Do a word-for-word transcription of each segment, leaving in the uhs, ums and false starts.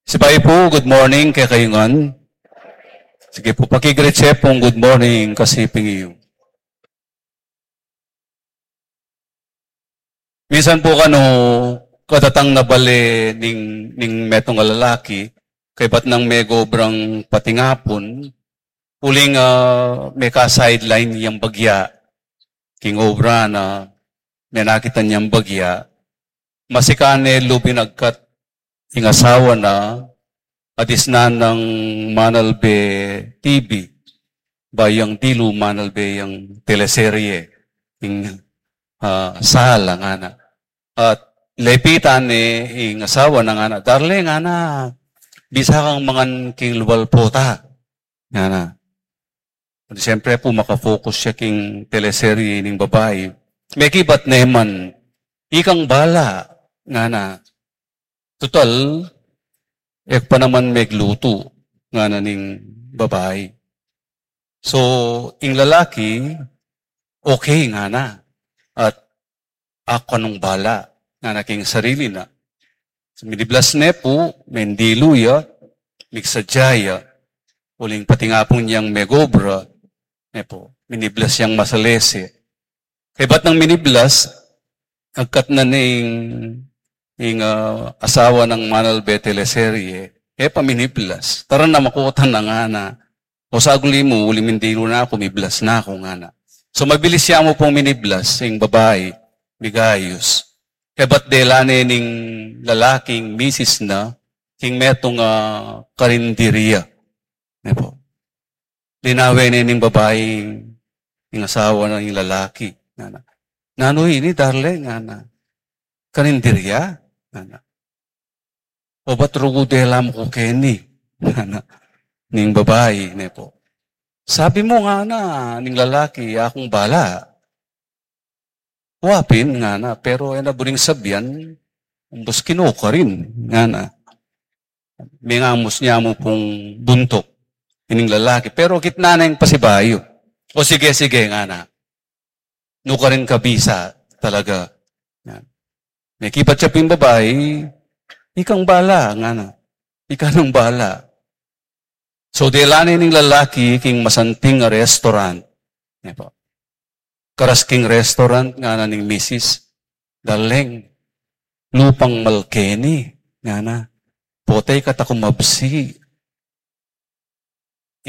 Sibayu pu, good morning kekayu ngan. Sige pu, pakigreet ye pung good morning kasi pingi yu. Minsan pu kanu, kadatang na bale ning, ning metung a lalaki, kaybat nang megobrang patingapun, uling, ah, meka-sideline yang bagya, king obra na, menakit ne yang bagya, masikan ne lub ing agkat ing asawa na, adisnan nang manalbe T V, ba yang dilu manalbe yang teleserye, ing, ah, sala ngana. At lepitan ne ing asawa na ngana, "Darling," ngana, "bisa kang mangan king lual pota," ngana. Siyempre pu, makafocus ya king teleserye ning babai. Mekibat ne man, "Ikang bala," ngana. "Tutal, e ku pa naman meglutu," ngana ning babai. So, ing lalaki, "Okay," ngana. At "Aku nang bala," ngana king sarili na. Miniblas ne pu, mendilu ya, migsadya ya, uling patingapun yang megobra, ne pu, miniblas yang masalese. Kaybat nang miniblas, agkat na ne ing, ing, ah, asawa nang manalbe teleserye, e pa miniblas. "Tara na, makutan na," ngana. "O saguli mu, uli mindilu na ku, miblas na ku," ngana. So, mabilis ya mu pung miniblas ing babai, migayus. Kaybat dela ne ning lalaking misis na king metung a karinderia. Ne pu. Linawe ne ning babai ing asawa na ing lalaki, ngana. "Nanu ini, darling?" ngana. "Karinderia?" ngana. "O ba't rugu dela mu ku keni?" ngana ning babai, ne pu. "Sabi mu," ngana ning lalaki, "Akung bala." "Wa pin," ngana, "pero e na buring sabian, umbus ki nukarin," ngana. Mengamus ne mu pung buntuk ining lalaki, pero kitnan ne ing pasibayu. "O sige, sige," ngana. "Nukarin ka bisa talaga." Yan. Mekibat ya pung babai, "Ikang bala," ngana. "Ika nang bala." So, dela ne ning lalaki king masanting a restaurant. Ne pu. Karas king restaurant, ngana ning misis, "Darling, lupang mal keni," ngana. "Potay ka ta kumabsi."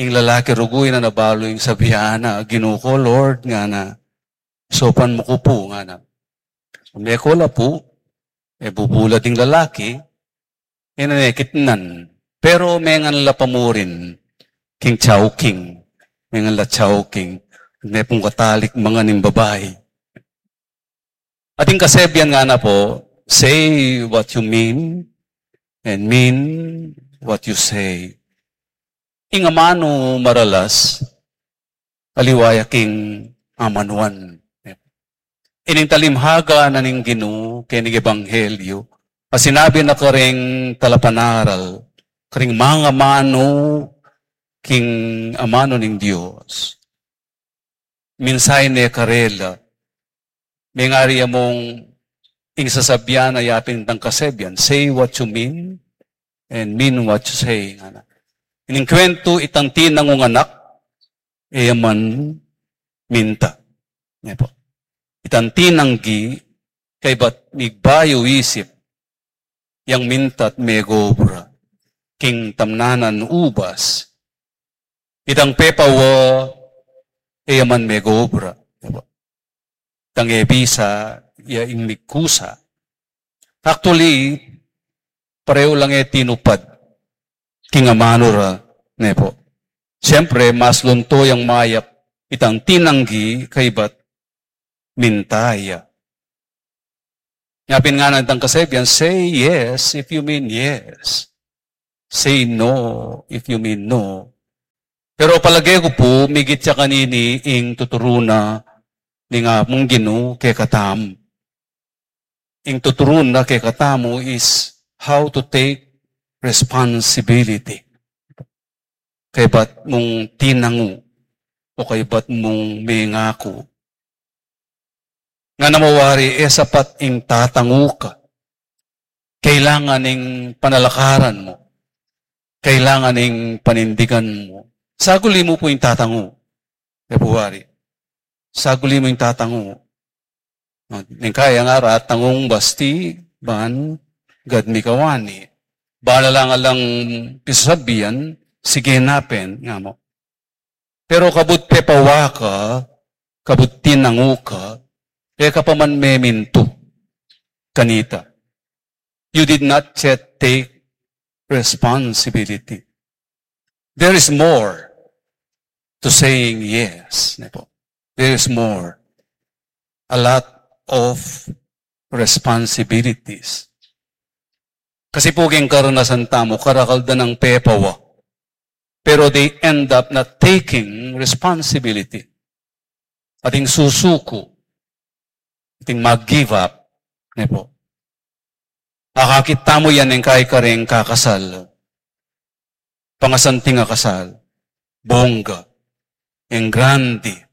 Ing lalaki rugu, e na nabalu ing sabian na, "Ginu ku, Lord," ngana. "Saupan mu ku pu," ngana. Meko la pu, e bubulad ing lalaki, e na ne kitnan. Pero mengan la pa murin king Chowking. Mengan la Chowking. Ne pung katalik mangan ing babai. Ating kasebian ngana pu, "Say what you mean and mean what you say." Ing amanu maralas, aliwa ya king amanuan. Ining talimhaga na ning Ginu keni king ebanghelyu, a sinabi na karing talapanaral, karing mangamanu king amanu ning Dios. Mensahe ne karela. Mengari ya mung ing sasabian a yapin itang kasebian, "Say what you mean and mean what you say," ngana. Ining kwentu, itang tinangung anak, e ya man minta. Ne pu. Itang tinanggi, kaybat migbayu isip, yang minta at megobra king tamnanan ubas. Itang pepawa, e ya man megobra. Itang e bisa, ya ing migkusa. Actually, pareho lang e tinupad king amanu ra, ne pu. Siyempre, mas lunto yang mayap itang tinanggi kaybat minta ya. Yapin ngana itang kasebian, "Say yes if you mean yes. Say no if you mean no." Pero palage ku pu, migit ya kanini ing tuturu na ning Apung Ginu kekatamu. Ing tuturu na kekatamu is how to take responsibility. Kaybat mung tinangu, o kaybat mung mengaku. Ngana mu wari, e sapat ing tatangu ka. Kailangan ing panalakaran mu. Kailangan ing panindigan mu. Saguli mu pu ing tatangu. February. Saguli mu ing tatangu. Ning kaya nga ra tangung basti, ban gad mikawani. Bala lang alang pisasabian, sige na pin, nga mu. Pero kabud pepawa ka, kabud tinangu ka, e ka pa man memintu kanita. You did not yet take responsibility. There is more to saying yes, ne po. There is more. A lot of responsibilities. Kasi pu king karanasan tamu, karakal da nang pepawa. Pero they end up not taking responsibility. Ating susuku, ating mag-give up, ne po. Akakit tamu yan ing kaikareng kakasal. Pangasanting a kasal. Bongga. Ing grande.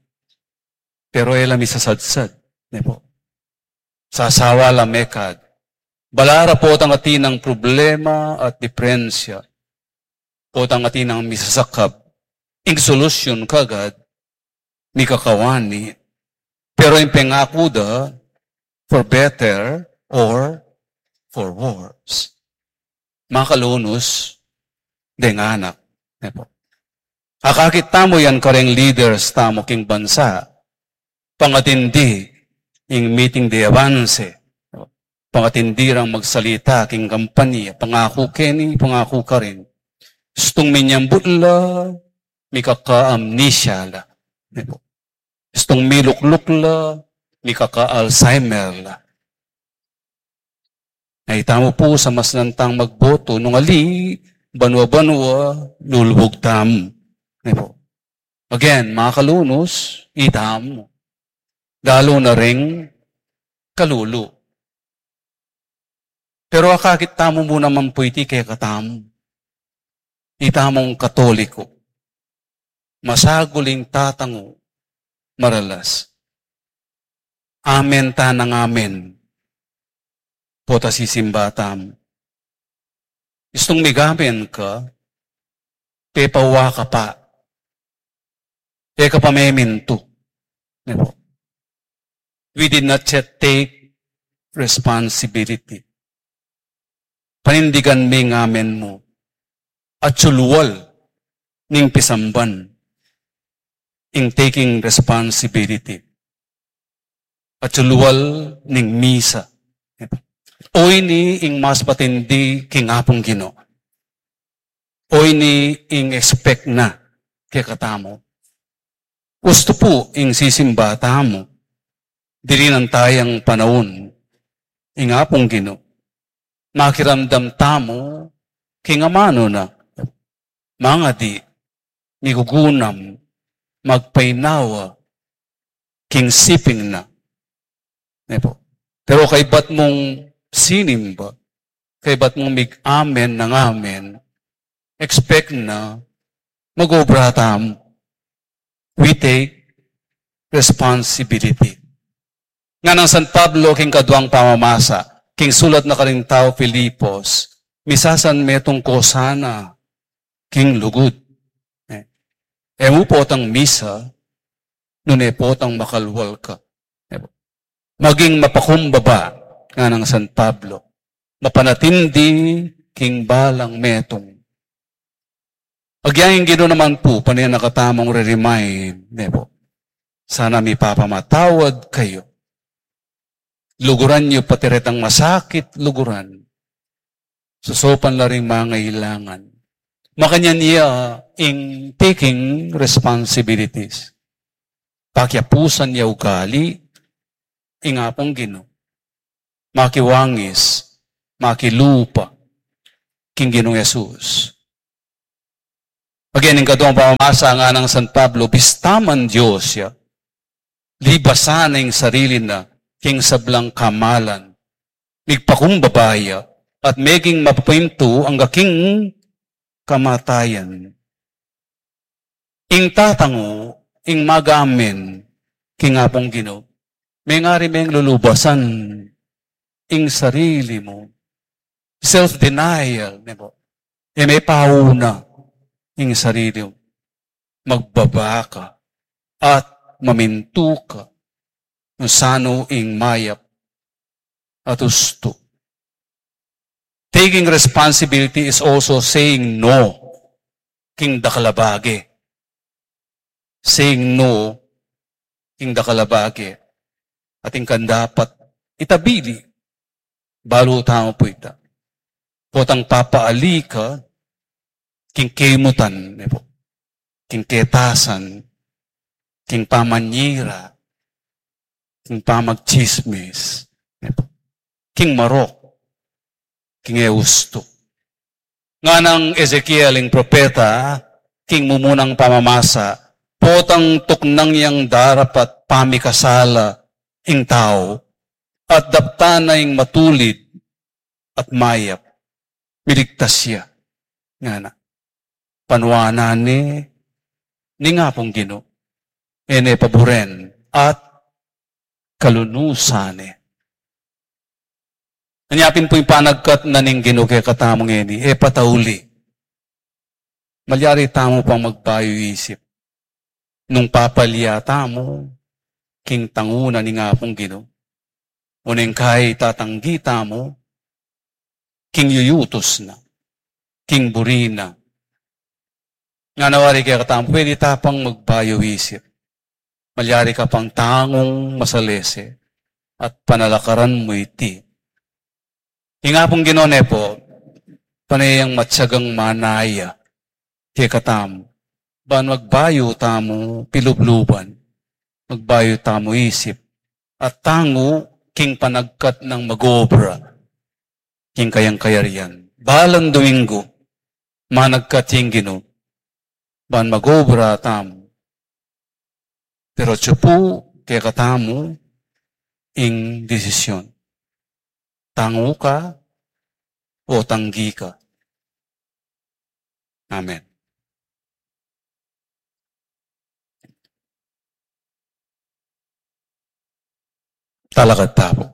Pero e la misasadsad, ne po. Sasawa la mekad. Bala ra potang atin nang problema at diperensya. Potang atin nang misasakab. Ing solusyun kagad, mikakawani. Pero ing pengaku da, for better or for worse. Makalunus, deng anak. Ne po. Akakit tamu yan kareng leaders tamu king bansa. Pangatindi ing meeting de avance. Pangatindi rang magsalita king kampanya. Pangaku keni, pangaku karin. Istung minyambut la, mikaka-amnesia la. Ne po. Istung milukluk la, mikaka-Alzheimer la. Ay, tamu pu, samasnan tang magboto, nung ali, banua-banua, lulubug tamu. Ne po. Again, makalunus, itamu. Lalu na ring kalulu. Pero akakit tamu mu naman pu iti kekatamu. Itamung Katoliko. Masagul ing tatangu, maralas. Amen ta nang amen. Pota sisimba tamu. Istung migamen ka, pepawa ka pa. E ka pa memintu. Ne po. We did not yet take responsibility. Panindigan me ing amen mu. Atsulual ning pisamban ing taking responsibility. Atsulual ning misa. Oyni ing mas matindi king Apung Ginu. Oyni ing expect na kekatamu. Ustu pu ing sisimba tamu, dirinan tayang panaun ing Apung Ginu. Makiramdam tamu king amanu na. Mangadi, migugunam, magpainawa, king siping na. Ne po. Pero kaybat mung sinimba, kaybat mung mig-amen nang amen, expect na mag-obra tamu. We take responsibility. Nganang San Pablo king kaduang pamamasa, king sulat na karing tau Filipos, misasan metung ko sana king lugud. E, e mu potang misa, nune potang makalwal ka. E po. Maging mapakumbaba, nganang San Pablo. Mapanatindi king balang metung. Agyang ing Ginu naman pu, pane na katamung re-remind, ne po. Sana mipapamatawad kayu. Luguran yu pati retang masakit luguran. Sosopan la ring mangailangan. Makanyan ya ing taking responsibilities. Pakiapusan ya ugali, ing Apung Ginu. Makiwangis, makilupa, king Ginung Jesus. Again, ing kaduang pamamasa, nganang San Pablo, bista man Dios ya, libasan na ing sarili na king sablang kamalan, migpakumbaba ya, at meging mapamintu angga king kamatayan. Ing tatangu, ing mag-amen king Apung Ginu, mengari meng lulubasan ing sarili mu. Self-denial, ne po. E me pauna ing sarili mu. Magbaba ka at mamintu ka nung sanu ing mayap at ustu. Taking responsibility is also saying no king dakal a bage. Saying no king dakal a bage. Atin kang dapat itabili. Balu tamu pu ita. Potang papaali ka king kemutan, ne pu. King ketasan, king pamanyira, king pamagtsismis, ne pu. King marok, king e ustu. Nganang Ezekiel ing propeta, king mumunang pamamasa, potang tuknang yang darapat pamikasala ing tau, at daptan na ing matulid at mayap, miligtas ya. Ngana, panuanan ne ning Apung Ginu, e ne paburen at kalunusan ne. Anya pin pu ing panagkat na ning Ginu kekatamu ngeni, e patauli. Malyari tamu pang magbayu isip. Nung papalya tamu king tangu na ning Apung Ginu, o neng kai tatanggi tamu king yuyutus na, king buri na. Ngana wari kekatamu, pwede ta pang magbayu isip. Malyari ka pang tangung masalese at panalakaran mu iti. Ing Apung Ginu ne pu, pane yang matyagang manaya kekatamu, ban magbayu tamu pilubluban, magbayu tamu isip, at tangu king panagkat nang mag-obra king kayang kayarian. Balang Domingo, managkat ing Ginu, ban mag-obra tamu. Pero atyu pu kekatamu ing desisyon. Tangu ka o tanggi ka. Amen. Talakad ta pu.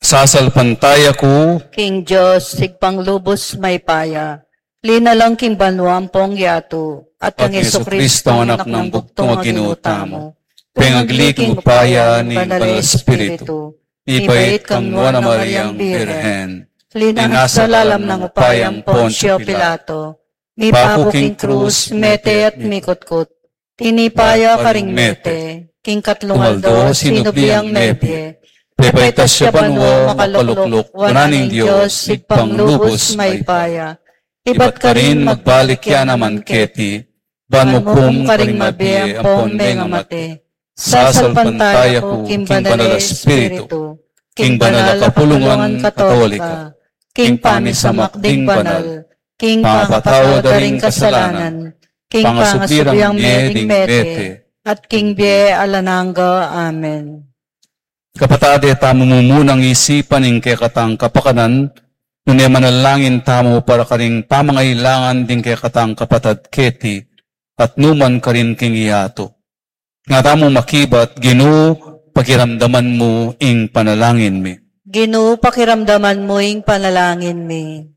Sasalpantaya ku king Dios, Ibpang lubus mayupaya, linalang king banua ampong yatu, at kang Jesucristo, Anak nang bugtung a Ginu tamu, pengagli king upaya ning Banal a Espiritu, mibait kang nuan a Mariang Birhen, linasa lalam ning upaya nang Poncio Pilato, mipaku king krus, mete at mikutkut, tinipa ya karing mete, king katlung aldo sinubli yang mebie, pepaitas ya banua makalukluk wanan ning Dios Ibpang lubus mayupaya, ibat karin magbalik ya naman keti, ban mukum karing mabie ampon mengamate. Sasalpantaya ku king Banal a Espiritu, king banal a kapulungan Katolika, king pamisamak ding banal, king pangapatawad da ring kasalanan, king pangasubli rang mie ding mete, at king bie alang angga. Amen. Kapatad, e tamu mumunang isipan ing kekatang kapakanan, nune manalangin tamu para karing pamangailangan ding kekatang kapatad keti, at numan karin king yatu. Nga tamu makibat, Ginu, pakiramdaman mu ing panalangin mi. Ginu, pakiramdaman mu ing panalangin mi.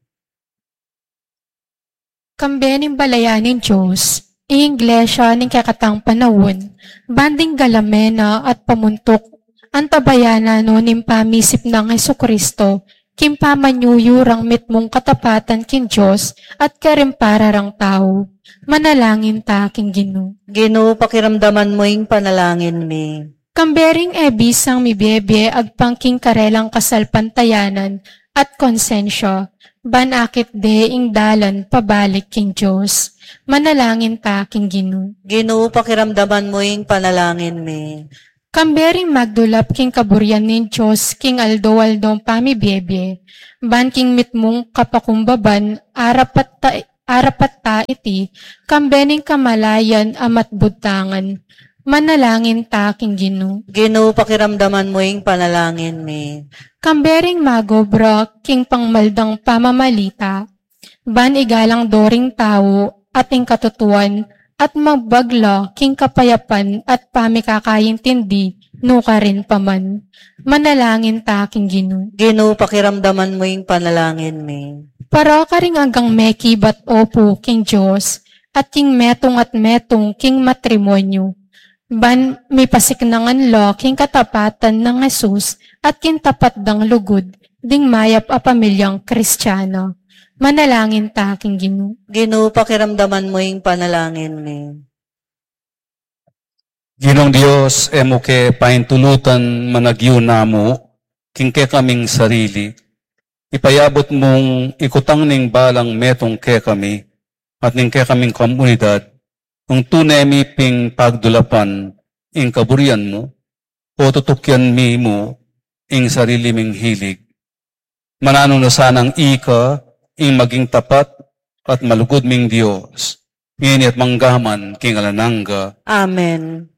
Kambe ning balayan ning Dios, ing Iglesia ning kekatang panaun, ban ding galame na at pamuntuk, antabayanan no ning pamisip nang Jesucristo, king pamanyuyu rang mitmung katapatan king Dios at karing para rang tau. Manalangin ta king Ginu. Ginu, pakiramdaman mu ing panalangin mi. Kambe ring e bisang mibie-bie agpang king karelang kasalpantayanan at konsensya, ban akit de ing dalan pabalik king Dios. Manalangin ta king Ginu. Ginu, pakiramdaman mu ing panalangin mi. Kambe ring magdulap king kaburian ning Dios king aldo-aldong pamibie-bie, ban king mitmung kapakumbaban, arapat ta, arapat ta iti, kambe ning kamalayan a matbud tangan. Manalangin ta king Ginu. Ginu, pakiramdaman mu ing panalangin mi. Kambe ring magobra king pangmaldang pamamalita, ban igalang do ring tau at ing katutuan at magbagla king kapayapan at pamikakaintindi, nukarin pa man. Manalangin ta king Ginu. Ginu, pakiramdaman mu ing panalangin mi. Para karing anggang mekibat opu king Dios, at king metung at metung king matrimonyo. Ban mipasiknangan la king katapatan nang Jesus at king tapat dang lugud ding mayap a pamilyang Kristiano. Manalangin ta king Ginu. Ginu, pakiramdaman mu ing panalangin mi. Ginung Dios, e mu ke paintulutan managyu namu king kekaming sarili. Ipayabut mung ikutang ning balang metung kekami at ning kekaming komunidad, nung tune mi ping pagdulapan ing kaburian mu, o tutukyan mi mu ing sarili ming hilig. Mananu na sanang ika ing maging tapat at malugud ming Dios, ngeni at manggaman king alang angga. Amen.